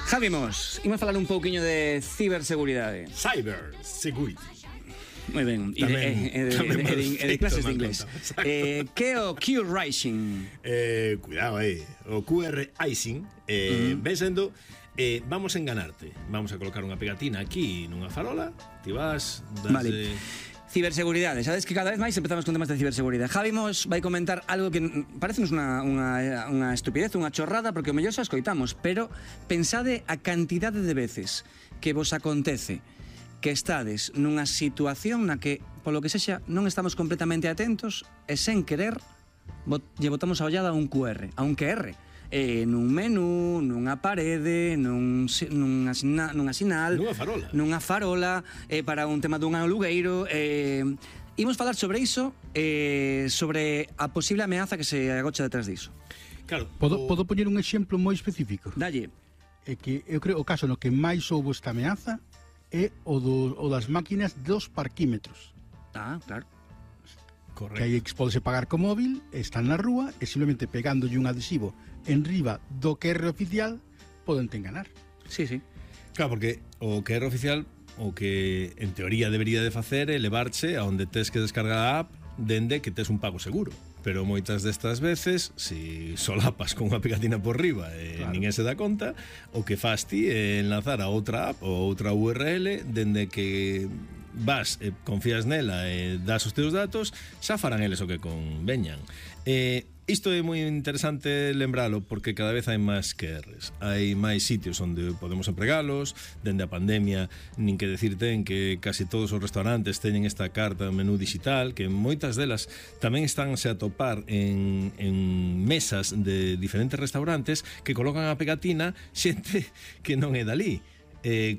Javi Mos, imos falar un pouquiño de ciberseguridade. Cyber Security. Moi ben, e de clases de inglés. Que é o Q-Rising? Cuidado aí. O QR Icing ven sendo vamos a enganarte. Vamos a colocar unha pegatina aquí nunha farola. Ti vas Vale. Ciberseguridade, sabes que cada vez máis empezamos con temas de ciberseguridade. Javi Mos vai comentar algo que parecenos unha estupidez, unha chorrada, porque o mellor xa escoitamos, pero pensade a cantidade de veces que vos acontece que estades nunha situación na que, polo que sexa, non estamos completamente atentos e sen querer lle botamos a ollada a un QR, a un QR. Nun menú, nunha parede, nunha sinal, nunha farola, para un tema dun alugueiro. Imos falar sobre iso, sobre a posible ameaza que se agocha detrás diso. Claro, podo poñer un exemplo moi específico? Dalle. É que eu creo o caso no que máis houbo esta ameaza é o das máquinas dos parquímetros. Claro. Correcto. Que aí podese pagar co móvil, están na rúa e simplemente pegándolle un adhesivo en riba do QR oficial podente enganar. Sí. Claro, porque o QR oficial o que en teoría debería de facer é levarche a onde tes que descargar a app dende que tes un pago seguro. Pero moitas destas veces, si solapas con unha pegatina por riba e ninguén se dá conta, o que fas ti é enlazar a outra app ou outra URL dende que vas e confías nela e das os teus datos, xa farán eles o que conveñan. Isto é moi interesante lembralo porque cada vez hai máis QRs. Hai máis sitios onde podemos empregalos. Dende a pandemia, nin que decir ten que casi todos os restaurantes teñen esta carta menú digital, que moitas delas tamén estánse a topar en mesas de diferentes restaurantes que colocan a pegatina xente que non é dali.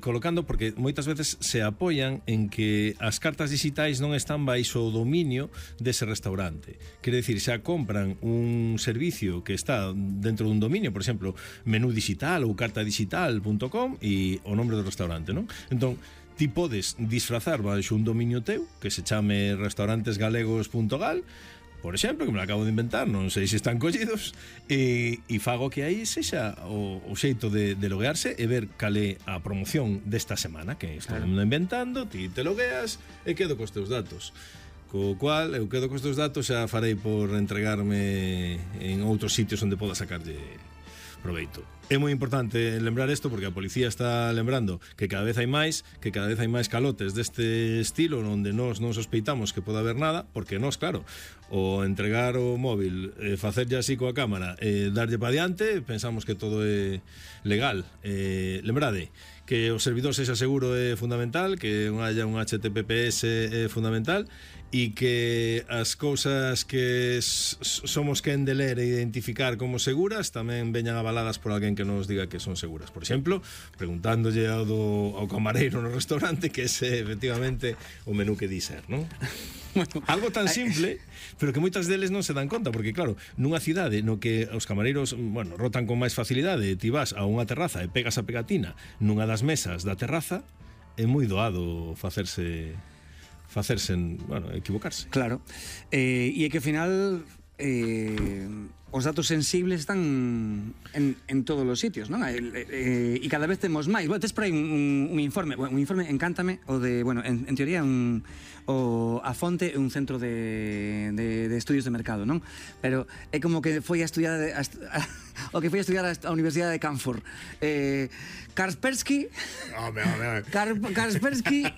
Colocando, porque moitas veces se apoian en que as cartas digitais non están baixo o dominio dese restaurante. Quere dicir, xa compran un servicio que está dentro dun dominio, por exemplo, menú digital ou cartadigital.com e o nombre do restaurante, non? Entón, ti podes disfrazar baixo un dominio teu que se chame restaurantesgalegos.gal, por exemplo, que me lo acabo de inventar, non sei se están collidos, e fago que aí sexa o xeito de loguearse e ver cal é a promoción desta semana, que estou inventando, ti te logueas e quedo cos teus datos. Co cual, eu quedo cos teus datos, xa farei por entregarme en outros sitios onde poda sacarlle proveito. É moi importante lembrar isto porque a policía está lembrando que cada vez hai máis calotes deste estilo onde nós non sospeitamos que poda haber nada, porque nós, claro, o entregar o móvil, facerlle así coa cámara e darlle pa diante, pensamos que todo é legal. Lembrade que o servidor sexa seguro é fundamental, que non haya un HTTPS é fundamental, e que as cousas que somos quen de ler e identificar como seguras tamén veñan avaladas por alguén que nos diga que son seguras. Por exemplo, preguntándolle ao camareiro no restaurante que ese efectivamente o menú que di ser, non? Bueno, algo tan simple, pero que moitas deles non se dan conta, porque claro, nunha cidade no que os camareiros, bueno, rotan con máis facilidade, ti vas a unha terraza e pegas a pegatina nunha das mesas da terraza, é moi doado facerse, bueno, equivocarse. Claro. E é que ao final os datos sensibles están en todos os sitios, non? E cada vez temos máis. Bueno, tes por aí un informe, encántame, o de, bueno, en teoría a fonte é un centro de estudios de mercado, non? Pero é como que foi a estudiar a Universidade de Canfor. Kaspersky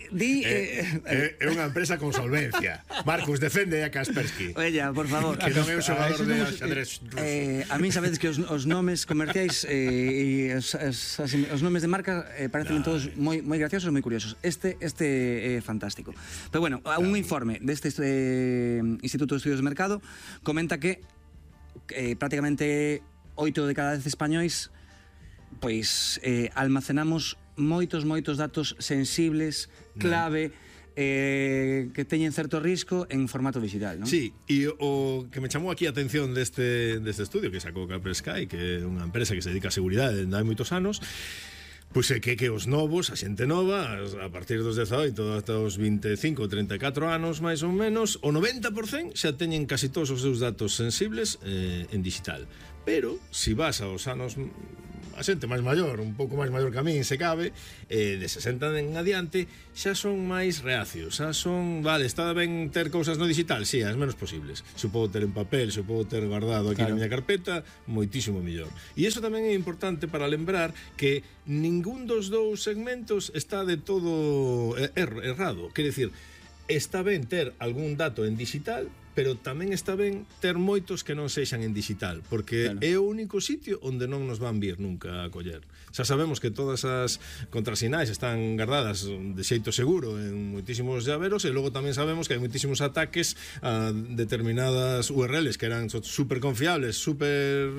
di é unha empresa con solvencia. Marcus, defende a Kaspersky. Oella, por favor. Que non é un xogador de xadrez ruso. A mí sabedes que os nomes comerciais e os nomes de marca parecen todos moi graciosos e moi curiosos. Este é fantástico. Pero bueno, un informe deste Instituto de Estudios de Mercado comenta que prácticamente 8 de cada 10 españois pois almacenamos moitos datos sensibles, clave, que teñen certo risco en formato digital, non? Sí, e o que me chamou aquí a atención deste estudio que sacou Kaspersky, que é unha empresa que se dedica a seguridade dende hai moitos anos, pois é que os novos, a xente nova, a partir dos 18 ata os 25 ou 34 anos máis ou menos, o 90% xa teñen casi todos os seus datos sensibles en digital. Pero, se vas aos anos a xente máis maior, un pouco máis maior que a min, se cabe, de 60 en adiante, xa son máis reacios, xa son, vale, está ben ter cousas no digital, si, as menos posibles. Se o podo ter en papel, se o podo ter guardado aquí na miña carpeta, moitísimo mellor. E iso tamén é importante para lembrar que ningún dos dous segmentos está de todo errado. Quer dicir, está ben ter algún dato en digital, pero tamén está ben ter moitos que non sexan en digital, porque é o único sitio onde non nos van vir nunca a coller. Xa sabemos que todas as contrasinais están guardadas de xeito seguro en moitísimos llaveros, e logo tamén sabemos que hai moitísimos ataques a determinadas URLs que eran super confiables, super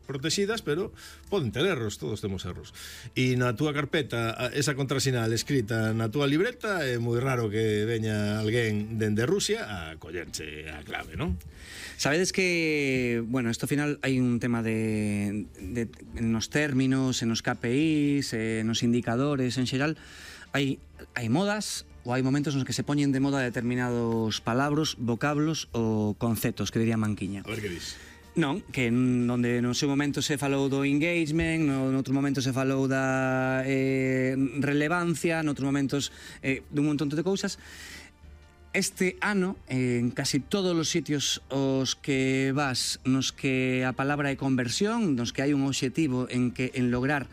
protegidas, pero poden ter erros, todos temos erros. E na túa carpeta, esa contrasinal escrita na túa libreta, é moi raro que veña alguén dende Rusia a collerche a clave, non? Sabedes que, bueno, esto ao final hai un tema de nos términos, en nos KPIs, nos indicadores en xeral, hai modas ou hai momentos nos que se poñen de moda determinados palabras, vocablos ou conceptos, que diría Manquiña. A ver que dis. Non, que onde no seu momento se falou do engagement, no outro momento se falou da relevancia, noutros momentos dun montón de cousas. Este ano, en casi todos os sitios os que vas, nos que a palabra é conversión, nos que hai un obxectivo en lograr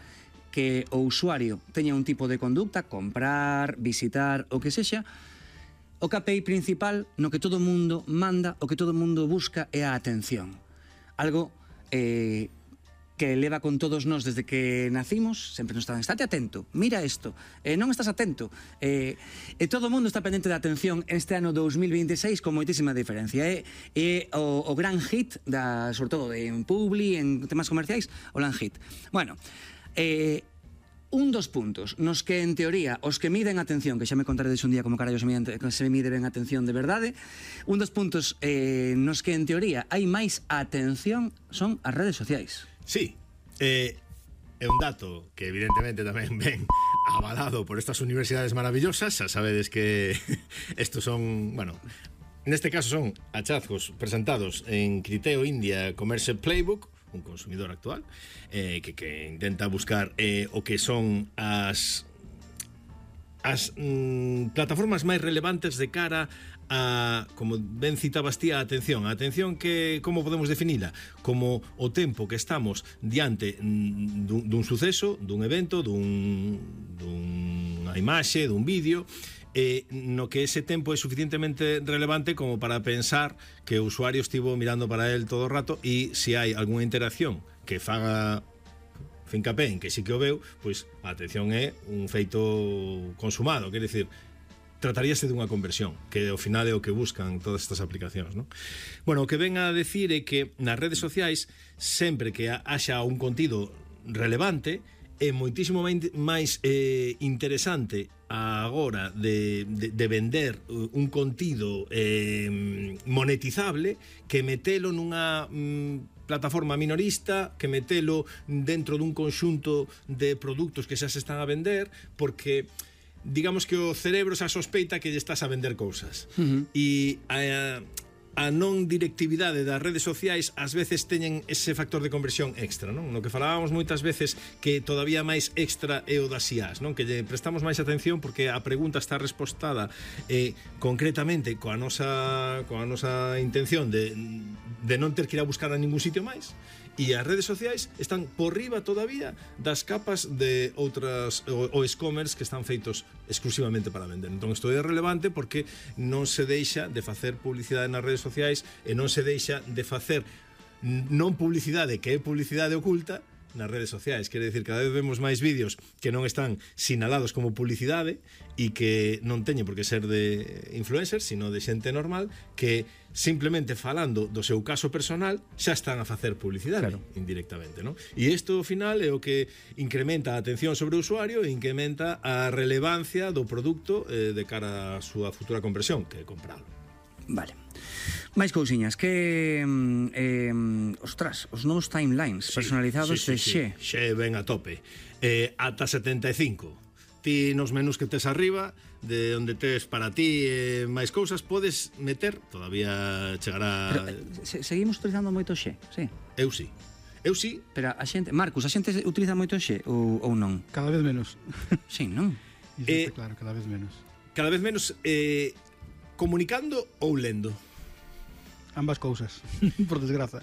que o usuario teña un tipo de conducta, comprar, visitar, o que sexa, o KPI principal no que todo o mundo manda, o que todo o mundo busca é a atención. Algo que leva con todos nós desde que nacimos, sempre nos están, estate atento, mira isto, non estás atento, e todo o mundo está pendente de atención este ano 2026 con moitísima diferencia. É o gran hit, sobre todo en Publi, en temas comerciais, o gran hit. Bueno, un dos puntos nos que, en teoría, os que miden atención, que xa me contaredes un día como carallo se mide ben atención de verdade, un dos puntos nos que, en teoría, hai máis atención son as redes sociais. Sí, é un dato que evidentemente tamén ven avalado por estas universidades maravillosas. Xa sabedes que estos son, bueno, neste caso son hallazgos presentados en Criteo India Commerce Playbook, un consumidor actual, que intenta buscar o que son as plataformas máis relevantes de cara a, como ben citabas ti, a atención. A atención que, como podemos definila? Como o tempo que estamos diante dun suceso, dun evento, dunha imaxe, dun vídeo, no que ese tempo é suficientemente relevante como para pensar que o usuario estivo mirando para él todo o rato, e se hai algunha interacción que faga fincapé en que sí que o veu, pois a atención é un feito consumado. Quer dicir, trataríase dunha conversión, que ao final é o que buscan todas estas aplicacións, non? Bueno, o que ven a decir é que nas redes sociais, sempre que haxa un contido relevante, é moitísimo máis interesante agora de vender un contido monetizable que metelo nunha plataforma minorista, que metelo dentro dun conxunto de produtos que xa se están a vender, porque digamos que o cerebro xa sospeita que lle estás a vender cousas. E a non directividade das redes sociais ás veces teñen ese factor de conversión extra, non? No que falábamos moitas veces, que todavía máis extra é o das IAs, non? Que lle prestamos máis atención porque a pregunta está respostada concretamente coa nosa intención de non ter que ir a buscar a ningún sitio máis. E as redes sociais están por riba todavía das capas de outras o e-commerce que están feitos exclusivamente para vender. Entón isto é relevante porque non se deixa de facer publicidade nas redes sociais e non se deixa de facer non publicidade, que é publicidade oculta, nas redes sociais. Quere dicir, cada vez vemos máis vídeos que non están sinalados como publicidade e que non teñen por que ser de influencers, sino de xente normal que simplemente falando do seu caso personal xa están a facer publicidade, claro, indirectamente, non? E isto ao final é o que incrementa a atención sobre o usuario e incrementa a relevancia do produto de cara á súa futura conversión, que é compralo. Vale. Máis cousiñas, que ostras, os novos timelines personalizados de Xe. Xe ven a tope. Ata 75. Ti nos menús que tes arriba, de onde tes para ti máis cousas, podes meter, todavía chegará. Pero, seguimos utilizando moito Xe, sí. Eu sí. Eu sí. Pero a xente, Marcos, a xente utiliza moito o xe ou non? Cada vez menos. Sí, non? Iso está claro, cada vez menos. Cada vez menos comunicando ou lendo? Ambas cousas, por desgraza.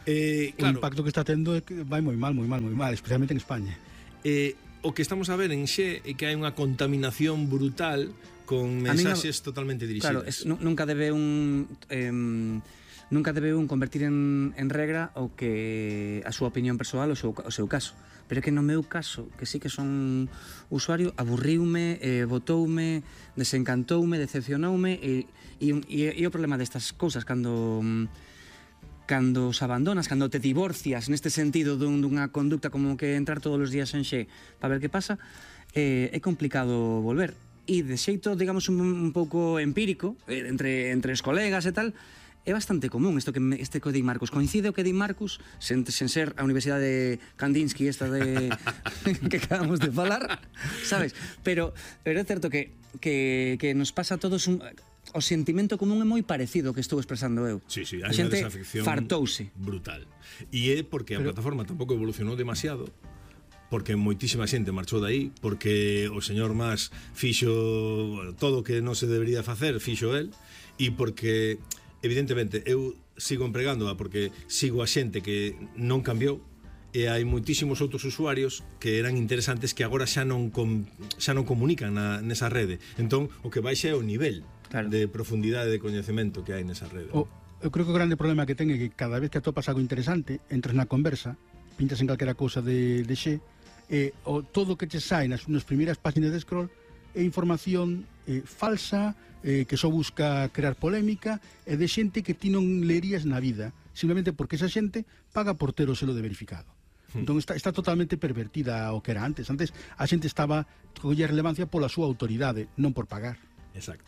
Claro, o impacto que está tendo é que vai moi mal, especialmente en España. O que estamos a ver en Xe é que hai unha contaminación brutal con mensaxes totalmente dirixidas. Claro, nunca debe un convertir en regra o que a súa opinión persoal o seu caso. Pero é que no meu caso, que sí que son usuario, aburriume, botoume, desencantoume, decepcionoume e o problema destas cousas cando os abandonas, cando te divorcias neste sentido dunha conducta como que entrar todos os días en Xe para ver que pasa, é complicado volver. E de xeito, digamos, un pouco empírico, entre os colegas e tal, é bastante común este que di Marcos. Coincide o que di Marcos, sen ser a Universidade Kandinsky esta de que acabamos de falar, sabes? Pero é certo que nos pasa a todos o sentimento común é moi parecido que estou expresando eu. Sí, a xente fartouse. Brutal. E é porque a plataforma tampouco evolucionou demasiado, porque moitísima xente marchou daí, porque o señor Mas fixo todo o que non se debería facer, fixo el, e porque, evidentemente, eu sigo empregándoa porque sigo a xente que non cambiou, e hai moitísimos outros usuarios que eran interesantes que agora xa non comunican nesa rede. Entón, o que baixa é o nivel de profundidade de coñecemento que hai nesa rede. Eu creo que o grande problema que ten é que cada vez que atopas algo interesante, entras na conversa, pintas en calquera cousa de Xe, todo o que te sai nas primeiras páxinas de scroll é información falsa, que só busca crear polémica, e de xente que ti non lerías na vida, simplemente porque esa xente paga por ter o selo de verificado. Entón está totalmente pervertida o que era antes. Antes a xente estaba colla relevancia pola súa autoridade, non por pagar. Exacto.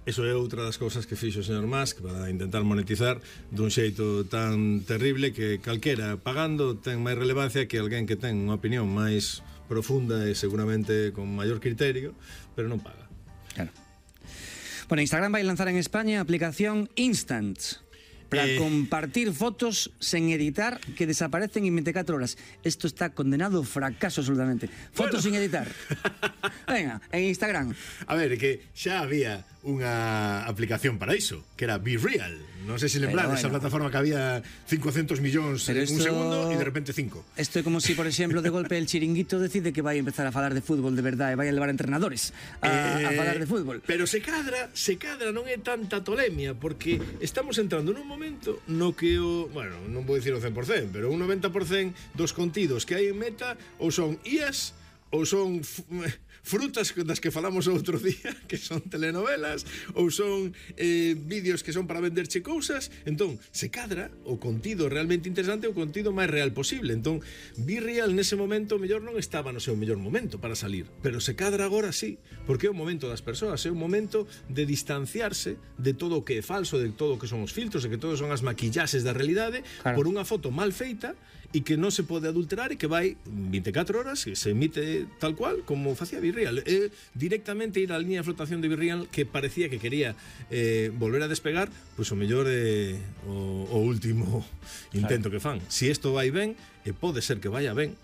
Eso é outra das cousas que fixo o señor Musk para intentar monetizar dun xeito tan terrible que calquera pagando ten máis relevancia que alguén que ten unha opinión máis profunda e seguramente con maior criterio, pero non paga. Claro. Bueno, Instagram vai lanzar en España a aplicación Instant para compartir fotos sen editar que desaparecen en 24 horas. Esto está condenado ao fracaso absolutamente. Fotos sin editar. Venga, en Instagram. A ver, que xa había unha aplicación para iso, que era Be Real. Non sei se lembrades, esa plataforma que había 500 millóns en un segundo e de repente 5. Isto é como si, por exemplo, de golpe el Chiringuito decide que vai empezar a falar de fútbol de verdade e vai a levar entrenadores a falar de fútbol. Pero se cadra, non é tanta tolemia, porque estamos entrando nun momento no que non vou dicir o 100%, pero un 90% dos contidos que hai en Meta ou son IAs ou son frutas das que falamos outro día, que son telenovelas, ou son vídeos que son para venderche cousas. Entón, se cadra o contido realmente interesante, o contido máis real posible. Entón, Be Real nese momento mellor non estaba no seu mellor momento para salir, pero se cadra agora sí, porque é o momento das persoas, é o momento de distanciarse de todo o que é falso, de todo o que son os filtros, de que todo son as maquillaxes da realidade, por unha foto mal feita e que non se pode adulterar e que vai 24 horas e se emite tal cual como facía Be Real. Directamente ir á liña de flotación de Be Real, que parecía que quería volver a despegar, pois o mellor o último intento que fan. Si isto vai ben, pode ser que vaya ben,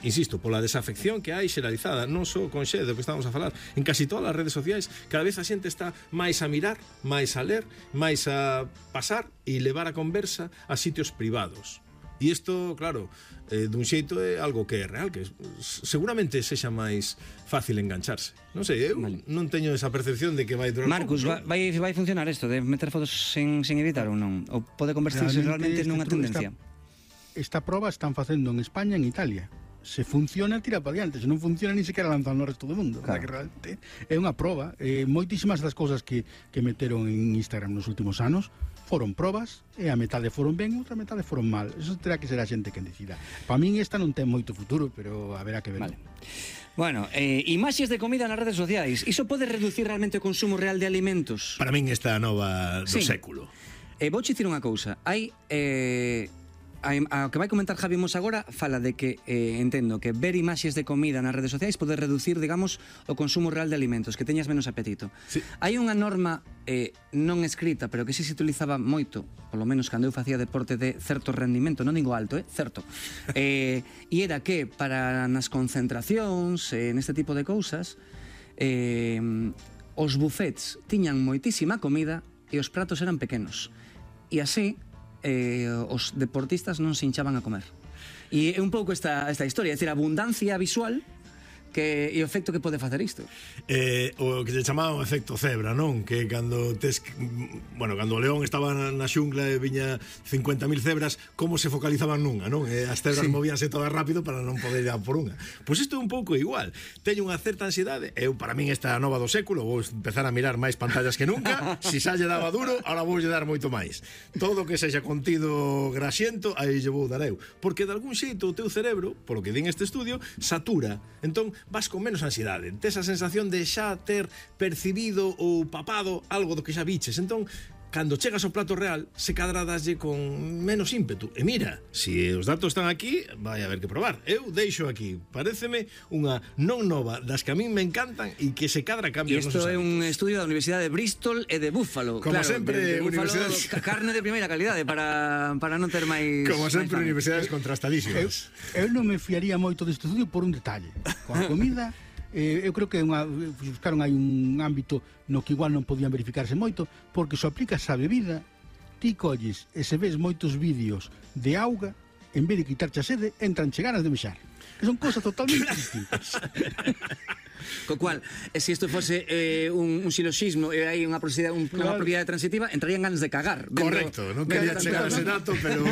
insisto, pola desafección que hai xeralizada, non só con Xe, do que estamos a falar, en casi todas as redes sociais. Cada vez a xente está máis a mirar, máis a ler, máis a pasar e levar a conversa a sitios privados. E isto, claro, dun xeito é algo que é real, que seguramente sexa máis fácil engancharse. Non sei, eu non teño esa percepción de que vai durar. Marcos, vai funcionar isto de meter fotos sen editar ou non? Ou pode convertirse realmente nunha tendencia? Esta proba están facendo en España e en Italia. Se funciona, tira para diante. Se non funciona, ni sequera lanzan no resto do mundo. Claro. Que realmente é unha proba. Moitísimas das cousas que meteron en Instagram nos últimos anos foron probas, e a metade foron ben, outra metade foron mal. Eso terá que ser a xente quen decida. Para min esta non ten moito futuro, pero haberá que ver. Vale. Bueno, imaxes de comida nas redes sociais. Iso pode reducir realmente o consumo real de alimentos? Para min esta nova do século. Vou dicir unha cousa. Hai a que vai comentar Javi Mos agora fala de que, entendo, que ver imaxes de comida nas redes sociais pode reducir, digamos, o consumo real de alimentos, que teñas menos apetito. Sí. Hai unha norma non escrita, pero que sí se utilizaba moito, polo menos cando eu facía deporte de certo rendimento, non digo alto, certo. E era que para nas concentracións, neste tipo de cousas, os buffets tiñan moitísima comida e os pratos eran pequenos. E así os deportistas non se hinchaban a comer. E é un pouco esta historia, é dicir, a abundancia visual e o efecto que pode facer isto. O que se chamaba o efecto cebra, non? Que cando cando o león estaba na xungla e viña 50.000 cebras, como se focalizaban nunha, non? As cebras movíanse todas rápido para non poder ir a por unha. Pois isto é un pouco igual. Teño unha certa ansiedade. Para min esta nova do século, vou empezar a mirar máis pantallas que nunca. Si xa lle daba duro, ahora vou lle dar moito máis. Todo que sexa contido grasiento, aí lle vou dar eu. Porque de algún xeito o teu cerebro, polo que din este estudio, satura. Entón, vas con menos ansiedade, tes a sensación de xa ter percibido ou papado algo do que xa viches. Entón, cando chegas ao plato real, se cadra daslle con menos ímpetu. E mira, se os datos están aquí, vai a haber que probar. Eu deixo aquí, paréceme unha non nova das que a min me encantan e que se cadra cambia. E isto é un estudio da Universidade de Bristol e de Buffalo. Como sempre, universidades... carne de primeira calidade para non ter máis... Como sempre, universidades contrastadísimas. Eu non me fiaría moito deste estudio por un detalle. Coa comida... eu creo que buscaron aí un ámbito no que igual non podían verificarse moito, porque se aplicas a bebida, ti colles e se ves moitos vídeos de auga, en vez de quitarche a sede, entranche ganas de mexar. Que son cosas totalmente distintas. Co cual, se isto fose un siloxismo e hai unha propiedade transitiva, entrarían ganas de cagar. Correcto, non quería chegar a ese dato, pero...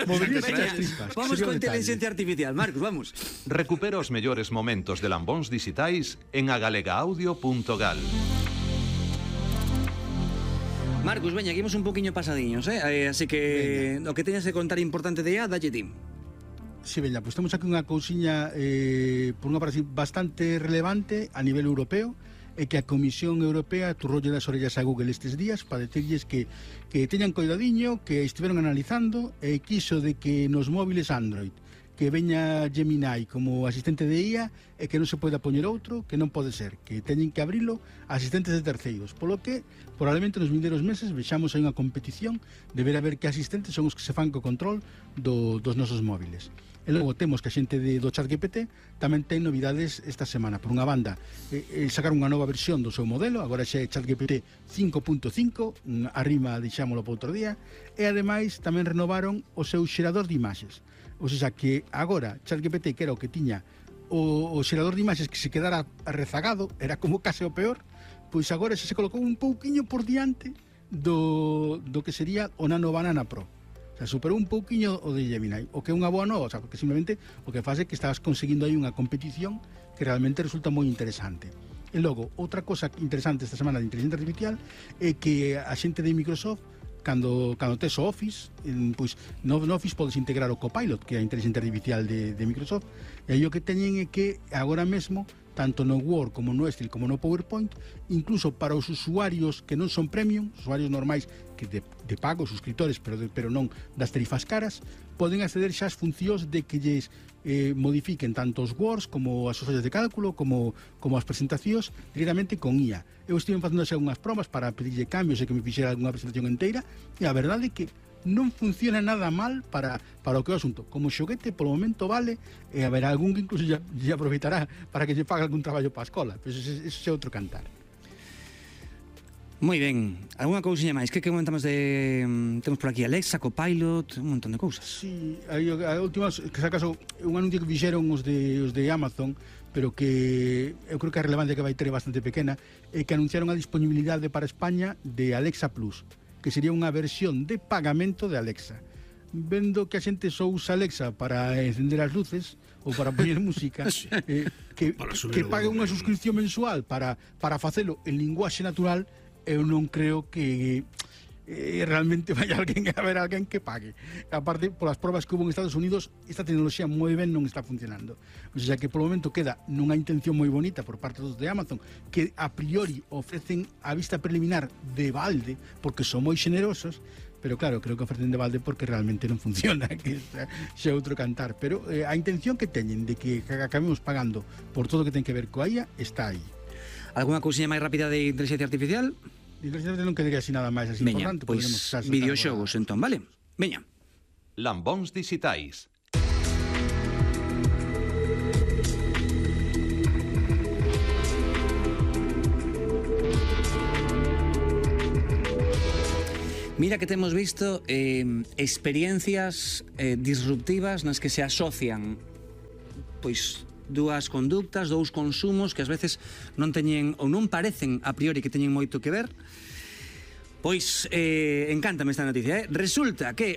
Vamos con inteligencia artificial, Marcos, vamos. Recupera os mellores momentos de Lambóns dixitais en agalegaudio.gal. Marcos, veña, aquí imos un poquinho pasadiños, así que o que teñas que contar importante de dalle ti. Si, veña, pois temos aquí unha cousiña por unha parte bastante relevante a nivel europeo, e que a Comisión Europea turrolle das orellas a Google estes días para decirlles que teñan coidadiño, que estiveron analizando e quiso de que nos móviles Android que veña Gemini como asistente de IA e que non se poida poñer outro, que non pode ser, que teñen que abrilo a asistentes de terceiros, polo que probablemente nos vindeiros meses vexamos aí unha competición de ver a ver que asistentes son os que se fan co control dos nosos móviles. E logo temos que a xente do ChatGPT tamén ten novidades esta semana. Por unha banda, sacaron unha nova versión do seu modelo, agora xa é ChatGPT 5.5, arrima deixámolo para outro día, e ademais tamén renovaron o seu xerador de imaxes. O sea que agora ChatGPT, que era o que tiña o xerador de imaxes que se quedara rezagado, era como case o peor, pois agora se colocou un pouquiño por diante do que sería o Nano Banana Pro. O sea, superou un pouquiño o de Gemini, o que é unha boa nova, o sea, porque simplemente o que faz é que estás conseguindo aí unha competición que realmente resulta moi interesante. E logo, outra cosa interesante esta semana de inteligencia artificial é que a xente de Microsoft, cando tes o Office, pois no Office podes integrar o Copilot, que é a inteligencia artificial de Microsoft, e aí o que teñen é que agora mesmo, tanto no Word como no Excel como no PowerPoint, incluso para os usuarios que non son premium, usuarios normais que de pago, suscriptores, pero non das tarifas caras, poden acceder xa as funcións de que lles modifiquen tanto os Words como as follas de cálculo como as presentacións directamente con IA. Eu estive facendo xa unhas probas para pedirlle cambios e que me fixera unha presentación inteira, e a verdade é que non funciona nada mal para o que é o asunto. Como xoguete, polo momento vale, e haberá algún que incluso ya aproveitará para que lle pague algún traballo para a escola, pero eso é outro cantar. Moi ben, alguna cousiña máis? Que comentamos de... Temos por aquí Alexa, Copilot, un montón de cousas. Sí, a última, que se acaso, un anuncio que fixeron os de Amazon, pero que eu creo que a relevancia que vai ter é bastante pequena, é que anunciaron a disponibilidade para España de Alexa Plus, que sería unha versión de pagamento de Alexa. Vendo que a xente só usa Alexa para encender as luces ou para poñer música, que pague unha suscripción mensual para facelo en linguaxe natural, eu non creo que realmente vai a haber alguén que pague. Aparte, polas probas que hubo en Estados Unidos, esta tecnoloxía moi ben non está funcionando. O sea que polo momento queda nunha intención moi bonita por parte dos de Amazon, que a priori ofrecen a vista preliminar de balde, porque son moi xenerosos, pero claro, creo que ofrecen de balde porque realmente non funciona, que xa é outro cantar, pero a intención que teñen de que acabemos pagando por todo o que ten que ver coa IA está aí. Alguna cousinha máis rápida de inteligencia artificial? Inteligencia non quedaría así nada máis así Veña, importante. pois videoxogos entón, vale? Veña. Lambóns dixitais. Mira que temos visto experiencias disruptivas nas que se asocian pois dúas conductas, dous consumos que ás veces non teñen ou non parecen a priori que teñen moito que ver. Pois encántame esta noticia, Resulta que